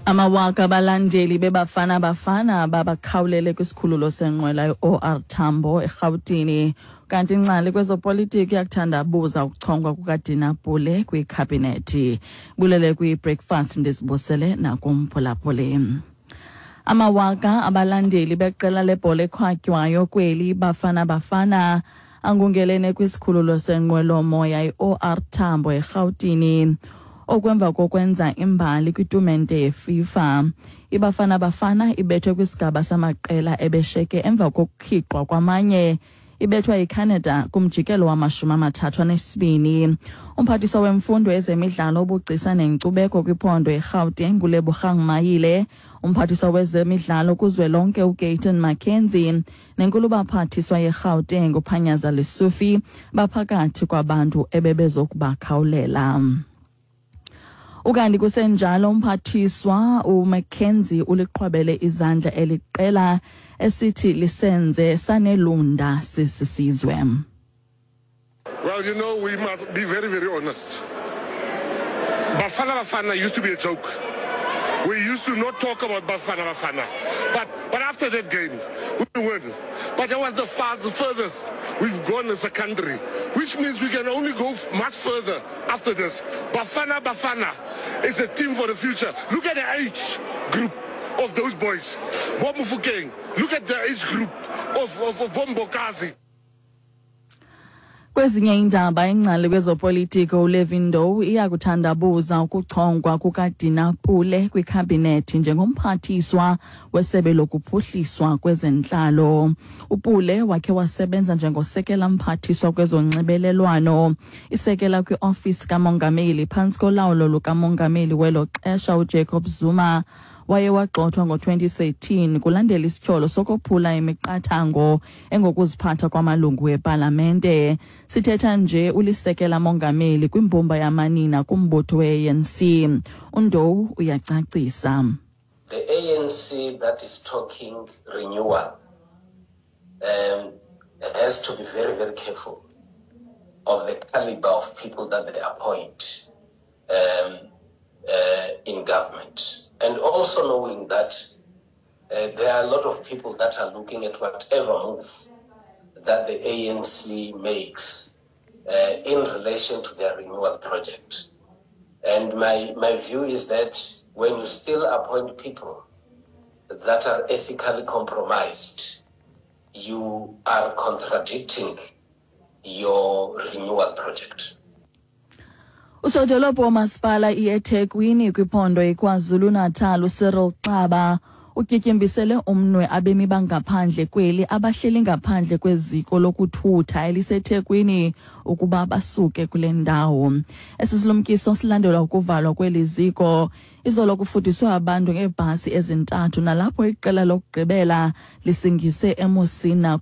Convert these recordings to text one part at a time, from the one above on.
Amawaka abalandeli beBafana Bafana babakhawulele kwisikhululo senqwela i-OR Tambo eRhawutini. Kanti ingcali kwezopolitiki iyakuthandabuza ukuchongwa kukaDina Pule kwikhabhinethi. Bulele kwi-breakfast ndizibusele nakumphulaphuli. Amawaka abalandeli beqela lebhola ekhwatywayo kweli Bafana Bafana angungelene kwisikhululo senqwelomoya i-OR Tambo eRhawutini okwemva kokwenza imbali kwitumente yeFIFA. IBafana Bafana ibethwe kwisigaba samaqela ebesheke emva kokukhiqwa kwamanye ibethwa yiCanada kumjikelo wamashumi amathathu anesibini. Umphathiswa wemfundo, ezemidlalo, ubugcisa nenkcubeko kwiphondo iRhawuteng uLebogang Mayile, umphathiswa wezemidlalo kuzwelonke uGayton McKenzie nenkulubaphathiswa yeRhawuteng uPanyaza Lesufi baphakathi kwabantu ebebezokubakhawulela. Ukanti kusenjalo umphathiswa uMcKenzie uliqhwabele izandla eliqela esithi lisenze sanelunda sisisizwe. Well, we must be very, very honest. Bafana Bafana used to be a joke. We used to not talk about Bafana Bafana. But after that game, we won. But that was the furthest we've gone as a country, which means we can only go much further after this. Bafana Bafana is a team for the future. Look at the age group of those boys. Bo Mofokeng. Look at the age group of boMbokazi. Kwezinye iindaba, ingcali kwezopolitiko uLevin Ndou iyakuthandabuza ukuchongwa kukaDina Pule kwikhabhinethi njengomphathiswa wesebe lokuphuhliswa kwezentlalo. UPule wakhe wasebenza njengosekela mphathiswa kwezonxibelelwano, isekela kwiofisi kamongameli phantsi kolawulo lukamongameli welo xesha uJacob Zuma. Waye wagxothwa ngo-2013 kulandela isityholo sokophula imiqathango engokuziphatha kwamalungu wepalamente. Sithetha nje ulisekela mongameli kwimbumba yamanina kumbutho we-ANC. UNdou uyacacisa. The ANC that is talking renewal has to be very, very careful of the caliber of people that they appoint in government. And also knowing that there are a lot of people that are looking at whatever move that the ANC makes in relation to their renewal project. And my view is that when you still appoint people that are ethically compromised, you are contradicting your renewal project. Usodolophu womasipala iEthekwini kwiphondo iKwaZulu-Natal uCyril Xaba utyityimbisele umnwe abemi bangaphandle kweli abahleli ngaphandle kweziko lokuthutha eliseThekwini ukuba basuke kule ndawo. Esi silumkiso silandelwa ukuvalwa kweli ziko. Izolo kufudiswe abantu ngeebhasi ezintathu nalapho iqela lokugqibela lisingise eMusina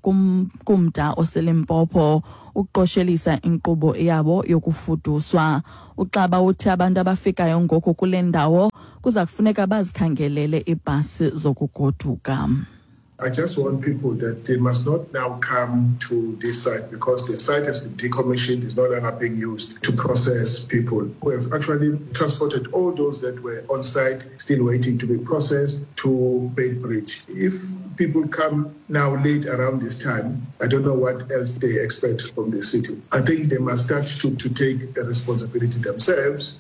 kumda oseLimpopo ukuqoshelisa inkqubo yabo yokufuduswa. UXaba uthi abantu abafikayo ngoku kule ndawo kuza kufuneka bazikhangelele iibhasi zokugoduka. I just want people that they must not now come to this site because the site has been decommissioned, is no longer being used to process people. We have actually transported all those that were on site, still waiting to be processed, to Beitbridge. If people come now late around this time, I don't know what else they expect from the city. I think they must start to take a responsibility themselves.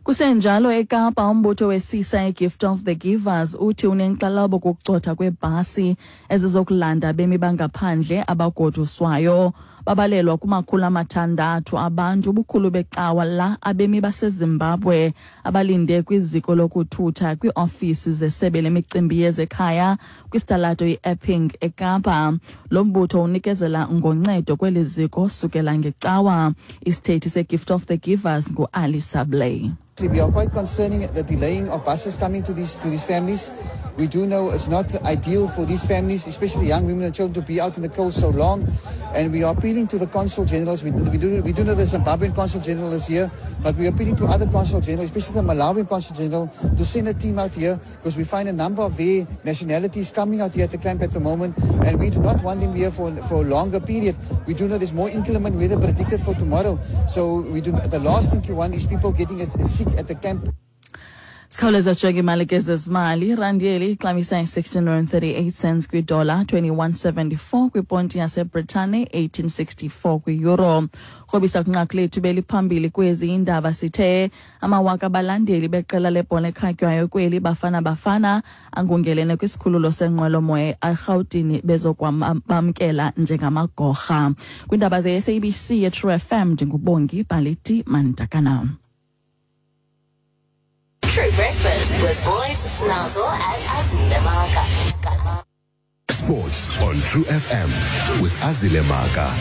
Kusenjalo eKapa, umbutho wesisa iGift of the Givers uthi unenkxalabo kukucotha kweebhasi ezizokulanda abemi bangaphandle abagoduswayo. Babalelwa kuma-600 abantu, ubukhulu becawa la abemi baseZimbabwe, abalinde kwiziko lokuthutha kwiiofisi zesebe lemicimbi yezekhaya kwisitalato i-Epping eKapa. Lo mbutho unikezela ngoncedo kweli ziko sukela ngecawa. Isithethi seGift of the Givers nguAli Sablay. We are quite concerning the delaying of buses coming to these families. We do know it's not ideal for these families, especially young women and children, to be out in the cold so long. And we are appealing to the consul generals. We do know the Zimbabwean consul general is here, but we are appealing to other consul generals, especially the Malawian consul general, to send a team out here because we find a number of their nationalities coming out here at the camp at the moment, and we do not want them here for a longer period. We do know there's more inclement weather predicted for tomorrow, so we do the last thing you want is people getting sick at the camp. Sikhawuleza sijonge imali ke zezimali. Irandi yeli ixabisa i-16 cents kwidola, 21.74 kwiponti yaseBritane, 1864 kwi-euro. Krobisa kwinqaku lethu beliphambili kwezi indaba, sithe amawaka abalandeli beqela lebhola ekhatywayo kweli Bafana Bafana angungelene kwisikhululo senqwelomoya eRhawutini bezokwamkela njengamagorha. Kwiindaba ze-SABC yeTrue FM, ndinguBongi Baliti Mandakana. True Breakfast with Boys Snazzle and Azile Maka. Sports on True FM with Azile Maka.